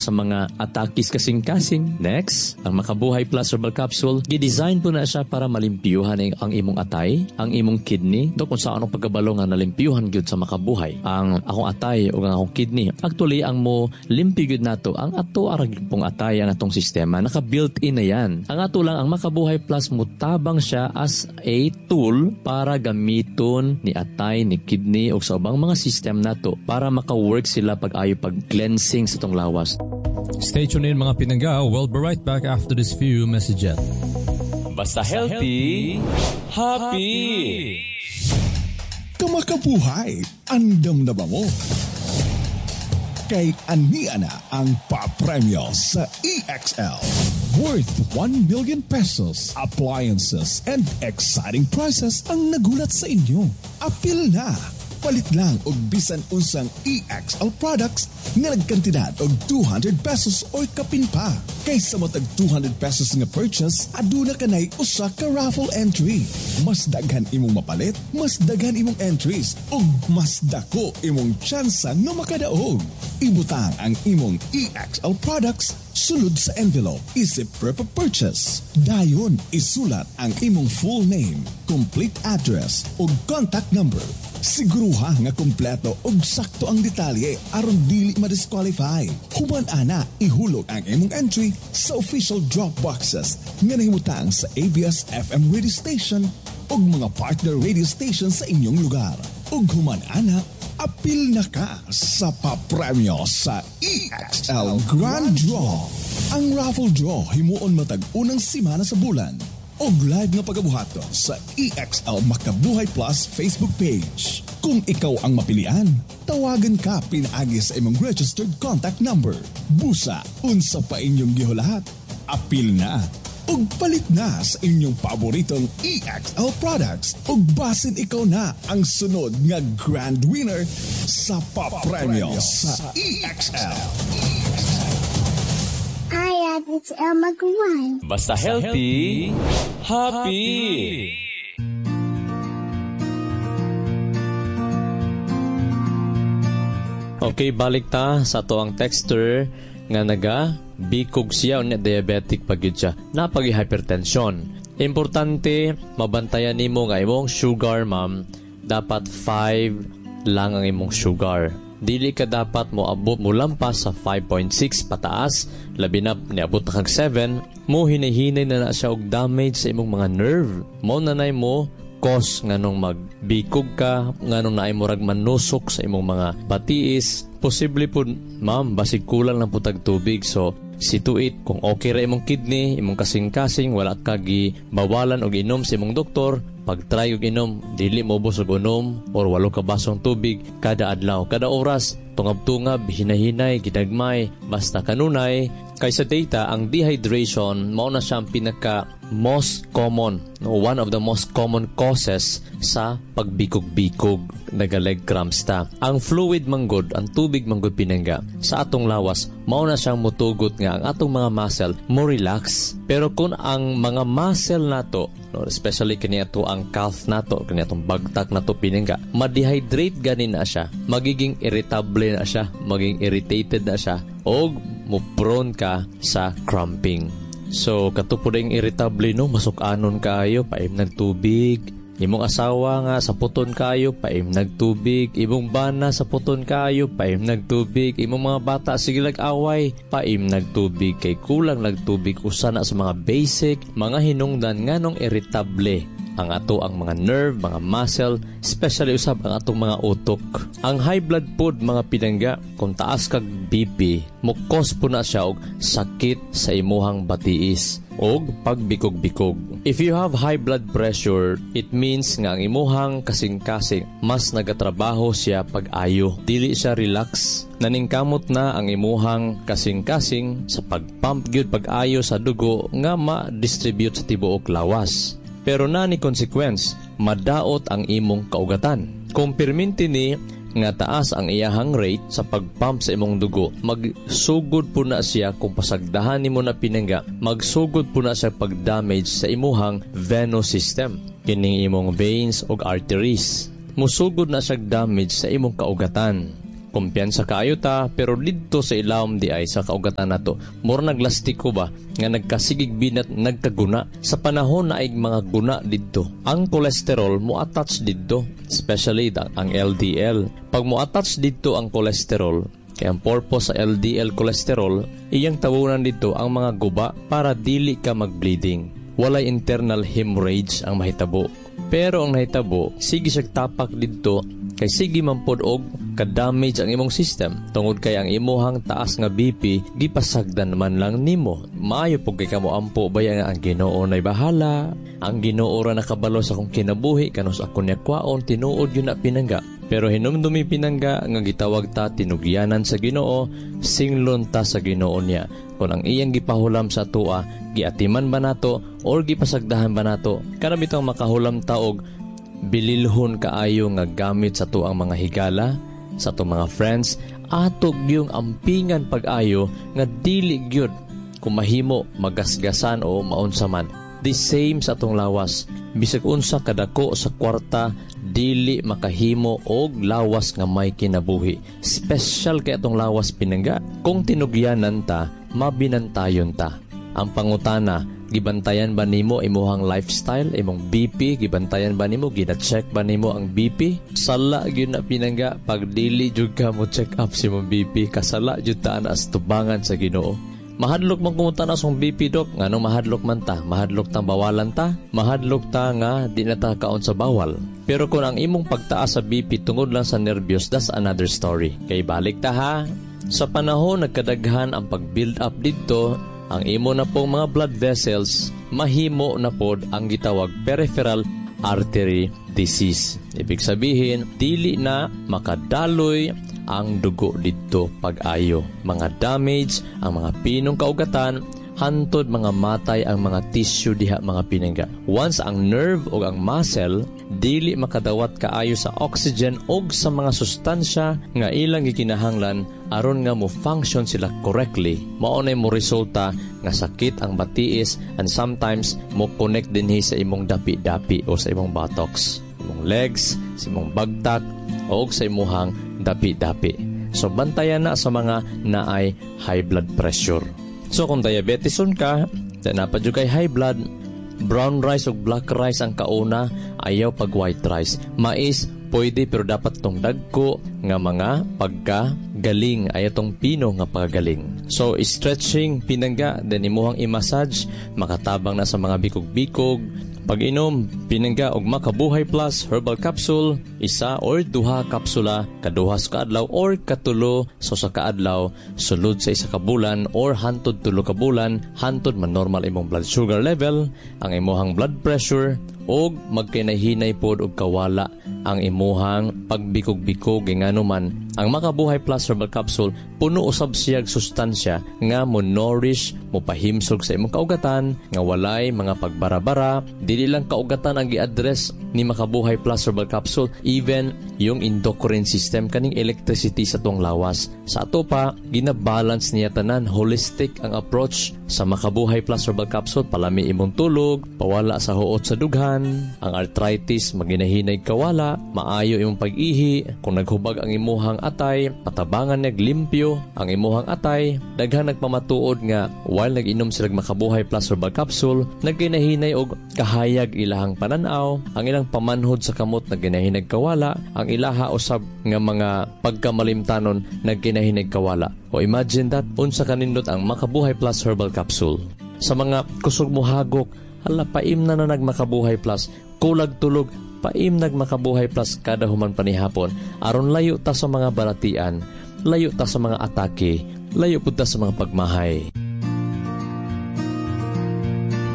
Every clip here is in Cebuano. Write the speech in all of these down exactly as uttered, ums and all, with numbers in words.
Sa mga atakis kasing-kasing. Next, ang Makabuhay Plus Herbal Capsule, gi-design po na siya para malimpyuhan ang imong atay, ang imong kidney. Do kung sa anong pagkabalo nga nalimpyuhan gyud sa Makabuhay ang akong atay o ang akong kidney. Actually, ang mo limpyo gyud nato ang ato arag pong atay, ang atong sistema naka built-in na yan. Ang ato lang, ang Makabuhay Plus, mutabang siya as a tool para gamiton ni atay, ni kidney o sa ubang mga system nato para maka-work sila pag-ayo pag cleansing sa tong lawas. Stay tuned in, mga pinangga. We'll be right back after this few messages. Basta healthy, happy! Kamakabuhay, andam na ba mo? Kay ania na ang papremyo sa E X L. Worth one million pesos, appliances, and exciting prizes ang nagulat sa inyo. Apil na! Palit lang og bisan unsang E X L products nga nagkantidad og two hundred pesos or kapin pa. Kaysa matag two hundred pesos nga purchase, aduna kanay usa ka raffle entry. Mas daghan imong mapalit, mas daghan imong entries ug mas dako imong tsansa nga makadaog. Ibutang ang imong E X L products sulod sa envelope isip proof of purchase. Dayon isulat ang imong full name, complete address ug contact number. Siguruha nga kompleto ug sakto ang detalye aron dili ma-disqualify. Human ana, ihulog ang imong entry sa official drop boxes nga nahimutang sa A B S F M radio station ug mga partner radio station sa inyong lugar. Ug human ana, apil na ka sa papremyo sa E X L Grand Draw. Ang raffle draw himuon matag unang semana sa bulan og live nga pagabuhaton sa E X L Makabuhay Plus Facebook page. Kung ikaw ang mapilian, tawagan ka pinaagi sa imong registered contact number. Busa, unsa pa inyong gihulat? Apil na ug palit na sa inyong paboritong E X L products ug basin ikaw na ang sunod nga grand winner sa papremyo sa E X L. Hi, it's Elma Guan. Basta healthy, happy! Okay, balik ta sa ato ang texter nga naga bikog siya unya diabetic pa gyud siya. Napagi hypertension. Importante mabantayan nimo nga imong sugar, ma'am, dapat five lang ang imong sugar. Dili ka dapat mo abot mo lampas sa five point six pataas, labi na niabot na kag seven, mo hinahinay na na siya og damage sa imong mga nerve. Mo nanay mo cause nganong magbikog ka, nganong naay murag manusok sa imong mga batiis. Posible po, ma'am, basig kulang lang po tag tubig. So, situate kung okay ra imong kidney, imong kasing-kasing, wala ka gi bawalan og inom sa imong doktor, pag-try og inom, dili mo ubos og unom or walo ka basong tubig kada adlaw, kada oras, tungab-tungab, hinahinay, ginagmay, basta kanunay, kay sa data, ang dehydration, mao na siya ang pinaka most common, no, one of the most common causes sa pagbikog-bikog, naga-leg cramps ta. Ang fluid manggod, ang tubig manggod, pinangga, sa atong lawas, mao na siyang mutugot nga ang atong mga muscle mo relax. Pero kung ang mga muscle nato, no, especially kini ato ang calf nato, kini atong bagtak nato, pinangga, ma-dehydrate gani na siya, magiging irritable na siya, magiging irritated na siya, og mo prone ka sa cramping. So, kato po rin irritable, no, masuk-anon kayo, paim nagtubig. Imong asawa nga sa puton kayo, paim nagtubig. Imong bana sa puton kayo, paim nagtubig. Imong mga bata sige away, paim nagtubig. Kay kulang nagtubig usa na sa mga basic, mga hinungdan nganong irritable ang ato ang mga nerve, mga muscle, especially usab ang atong mga utok. Ang high blood pod, mga pinangga, kung taas kag B P, mo cause po na siya og sakit sa imuhang batiis og pagbikog-bikog. If you have high blood pressure, it means nga ang imuhang kasing-kasing mas nagatrabaho siya pag-ayo. Dili siya relax. Naningkamot na ang imuhang kasing-kasing sa pagpump gyud pag-ayo sa dugo nga ma-distribute sa tibuok lawas. Pero na ni consequence, madaot ang imong kaugatan. Kung pirminti ni nga taas ang iyahang rate sa pagpump sa imong dugo, magsugod po na siya kung pasagdahan nimo na, pinangga, magsugod po na siya pag-damage sa imuhang venous system, kining imong veins ug arteries. Musugod na siya damage sa imong kaugatan. Kumpiyansa kaayo ta, pero didto sa ilawom di ay sa kaugatan nato, mura naglastiko ba nga nagkasigig binat, nagkaguna. Sa panahon na ay mga guna didto, ang cholesterol mo attach didto, especially ang L D L. Pag mo attach didto ang cholesterol, kay ang purpose sa L D L cholesterol, iyang tawunan dito ang mga guba para dili ka mag-bleeding. Walay internal hemorrhage ang mahitabo. Pero ang nahitabo, sige siya tapak didto kay sige man pod og ka-damage ang imong system tungod kay ang imuhang taas nga B P gipasagdan man lang nimo. Maayo pud kay kamo ampo baya nga ang Ginoo nay bahala, ang Ginoo ra nakabalo sa akong kinabuhi, kanus ako niya kwaon. Tinuod yun na, pinangga. Pero hinumdumi, pinangga, nga gitawag ta tinugyanan sa Ginoo, singlon ta sa Ginoo niya. Kung ang iyang gipahulam sa atoa, giatiman ba nato or gipasagdahan ba nato? Kana bitong makahulam ta og bililhon kaayo nga gamit sa tuang mga higala, sa atong mga friends, ato gyung ampingan pag-ayo nga dili gyud kung mahimo magasgasan o maunsa man. The same sa atong lawas. Bisag unsa kadako sa kwarta, dili makahimo og lawas nga may kinabuhi. Special kay atong lawas, pinangga. Kung tinugyanan ta, mabinantayon ta. Ang pangutana, gibantayan ba nimo imuhang lifestyle, imong B P, gibantayan ba nimo, gina-check ba nimo ang B P? Sala gyud na, pinangga, pag dili jud ka mo check up sa imong B P, kasala jud ta ana sa tubangan sa Ginoo. Mahadlok man kumuta na sa B P, dok. Nganong mahadlok man ta? Mahadlok ta bawalan ta? Mahadlok ta nga di na ta kaon sa bawal. Pero kung ang imong pagtaas sa B P tungod lang sa nervyos, that's another story. Kay balik ta ha. Sa panahon nagkadaghan ang pag-build up didto, ang imo na pong mga blood vessels, mahimo na pod ang gitawag peripheral artery disease. Ibig sabihin, dili na makadaloy ang dugo didto pag-ayo. Mga damage ang mga pinong kaugatan, hantod mga matay ang mga tissue diha, mga pinangga. Once ang nerve o ang muscle dili makadawat kaayo sa oxygen og sa mga sustansya nga ilang gikinahanglan aron nga mo function sila correctly, mao nay mo resulta nga sakit ang batiis and sometimes mo connect dinhi sa imong dapi-dapi o sa imong buttocks, imong legs, sa imong bagtak o sa imuhang dapi-dapi. So bantayan na sa mga naay high blood pressure. So kung diabeteson ka, naa pa jud kay high blood, brown rice o black rice ang kauna, ayaw pag white rice. Mais, pwede, pero dapat tong dagko nga mga pagka galing, ayaw tong pino nga paggaling. So stretching, pinangga, then imuhang i-massage, makatabang na sa mga bikog-bikog. Pag-inom, pinangga, og Makabuhay Plus Herbal Capsule, isa or duha kapsula kaduha sa kaadlaw or katulo sa sa kaadlaw sulod sa isa ka bulan or hantod tulo ka bulan, hantod man normal imong blood sugar level, ang imuhang blood pressure og magkinahinay pod og kawala ang imuhang pagbikog-bikog. Ngano man ang Makabuhay Plus Herbal Capsule, puno usab siyag sustansya nga mo nourish, mo pahimsog sa imong kaugatan nga walay mga pagbarabara. Dili lang kaugatan ang gi-address ni Makabuhay Plus Herbal Capsule, even yung endocrine system, kaning electricity sa tuang lawas. Sa ato pa, gina-balance niya tanan. Holistic ang approach sa Makabuhay Plus Herbal Capsule. Palami imong tulog, pawala sa huot sa dughan, ang arthritis maginahinay kawala, maayo imong pag-ihi, kung naghubag ang imuhang atay, patabangan naglimpyo ang imuhang atay. Daghan nagpamatuod nga while nag-inom sila Makabuhay Plus Herbal Capsule, nagkinahinay og kahayag ilahang pananaw, ang ilang pamanhod sa kamot nagkinahinay kawala, ang ilaha usab nga mga pagkamalimtanon nagkinahinay kawala. O imagine that, unsa kanindot ang Makabuhay Plus Herbal Capsule. Sa mga kusog mo hagok, hala, paim na na nagmakabuhay Plus, kulag tulog, paim nagmakabuhay Plus kada human panihapon aron layo ta sa mga balatian, layo ta sa mga atake, layo pud ta sa mga pagmahay.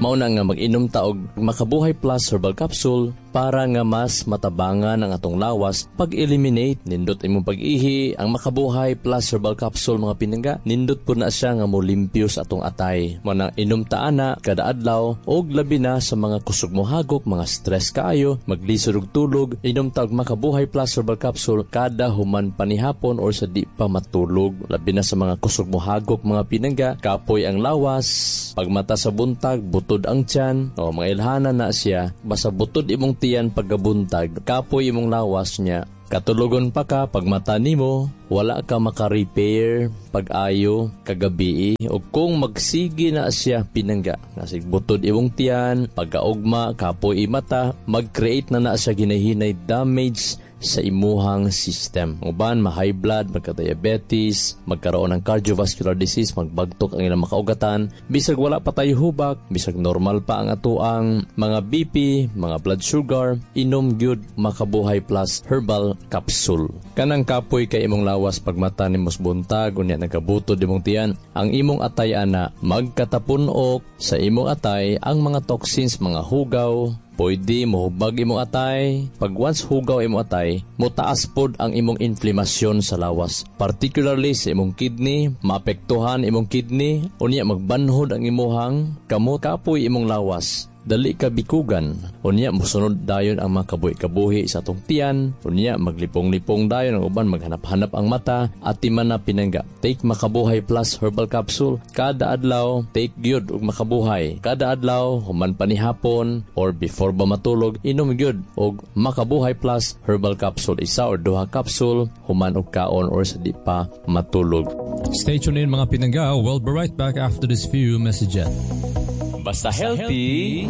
Mao na nga mag-inom ta og Makabuhay Plus Herbal Capsule para nga mas matabangan ang atong lawas pag-eliminate. Nindot imong pag-ihi ang Makabuhay Plus Herbal Capsule, mga pinangga. Nindot po na siya nga molimpyo sa atong atay. Mao na inom ta ana kada adlaw og labi na sa mga kusog mo hagok, mga stress kaayo, maglisod og tulog, inom ta og Makabuhay Plus Herbal Capsule kada human panihapon or sa di pa matulog. Labi na sa mga kusog mo hagok, mga pinangga, kapoy ang lawas, pagmata sa buntag, butod ang tiyan, o mga ilhanan na siya, basta butod imong tiyan pagkabuntag, kapoy imong lawas niya. Katulogon pa ka pag mata nimo, wala ka maka-repair pag-ayo kagabi o kung magsige na siya, pinangga, nasig butod imong tiyan, pagkaugma kapoy mata, mag-create na na siya ginahinay damage sa imuhang system. Uban, ma-high blood, magka-diabetes, magkaroon ng cardiovascular disease, magbagtok ang ilang makaugatan, bisag wala pa tayo hubak, bisag normal pa ang atoang mga B P, mga blood sugar, inom gyud Makabuhay Plus Herbal Capsule. Kanang kapoy kay imong lawas pag mata nimo buntag, unya nagkabutod imong tiyan, ang imong atay ana magkatapunok sa imong atay ang mga toxins, mga hugaw, pwede mohubag imong atay. Pag once hugaw imong atay, motaas pod ang imong inflamasyon sa lawas. Particularly sa imong kidney, maapektuhan imong kidney, unya magbanhod ang imuhang kamot, kapoy imong lawas, dali ka bikugan. Unya mosunod dayon ang mga kabuhi-kabuhi sa atong tiyan, unya maglipong-lipong dayon ang uban, maghanap-hanap ang mata. Atiman na, pinangga, take Makabuhay Plus Herbal Capsule kada adlaw. Take gyud og Makabuhay kada adlaw, human pa ni hapon or before ba matulog, inom gyud og Makabuhay Plus Herbal Capsule, isa or duha capsule human og kaon or sa di pa matulog. Stay tuned in, mga pinangga. We'll be right back after this few messages. Basta healthy, happy.